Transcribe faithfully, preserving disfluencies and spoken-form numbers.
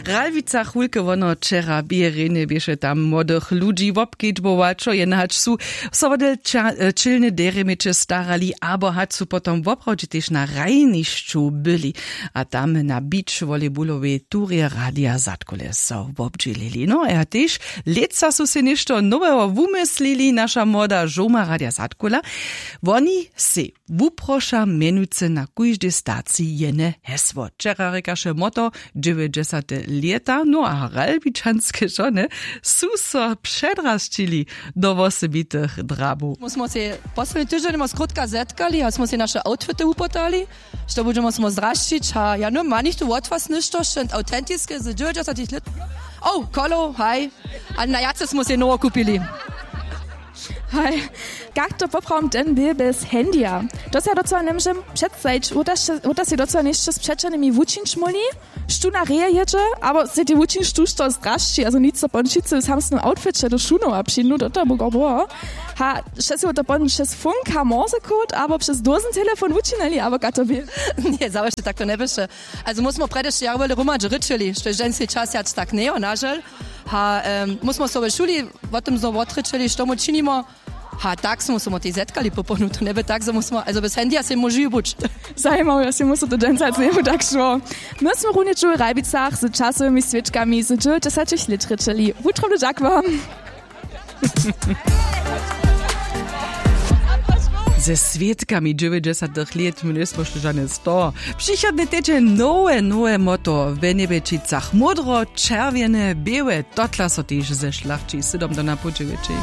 W Ralwicach wulke wono wčera běrjenje běše tam młodych ludźi wobkedźbować, wšo jen hač su so wodel ča- e, čilne derje měće starali abo hač su potom woprawdźe tež na hrajnišću byli. A tam na beach volleyballowej turje radija zadkule so wobdźělili. No a tež lětsa su sej něšto noweho wumyslili, naša młoda žołma radija zadkula. Woni sej wuproša mjenujcy na kóždej staciji jene hesło. Wčera rěkaše motto dźewjećdźesate lěta, no a ralbičanske žony su so předrasćili do wosebitych drabow. My smo se posledni tyždźeń ma skrótka zetkali a smo se naše outfity upotali, što budźemo smo zdrasćić a ja no ma nichtu wot was něšto šent autentiske z dźewjećdźesatych lět. O kolo haj. A na jace smo se nowo kupili. Haj. Kak to poprawom ten bě bez handyja? To se docyła njemóžem předstajić. Wuta sej docyła něšće z přećelnymi wučińć móhli, štó na reje jědźe, abo sej tej wučińć tuž to zdrasći a zo nic so pon wšitcy w samsnym outfiće do šunowa přińdu do toho buka boho. Ha, wšesy to pon přez funka morsekód abo přez dózen telefon wučinili abo ka to bě? Nje zawěsće tak to njeběše. Also mósmo prjedy šće jaro wjele hromadźe rěčeli što je ženski čas jac tak njejo nažel. Ha, mósmo so w šuli wot tym znow wotrěčeli što mój činimo. Ha tak smo so mój tej zetkali poponu to njeby tak zo mósmo also bez handyja sej móžu ju buć. Zajimawo ja sej mósmy to dźensa zemu tak šło. My smy runje čuły w ralbicach z časowymi swědkami z dźewjećdźesatych lět rěčeli wutrobny dźak wam. Ze swědkami dźewjećdźesatych lět my njejsmy šli žane z toho. Přichodny tydźeń nowe nowe moto w njebjećicach módro čerwjene běłe totla so tež ze šlachći sydom do napołdźewjećej.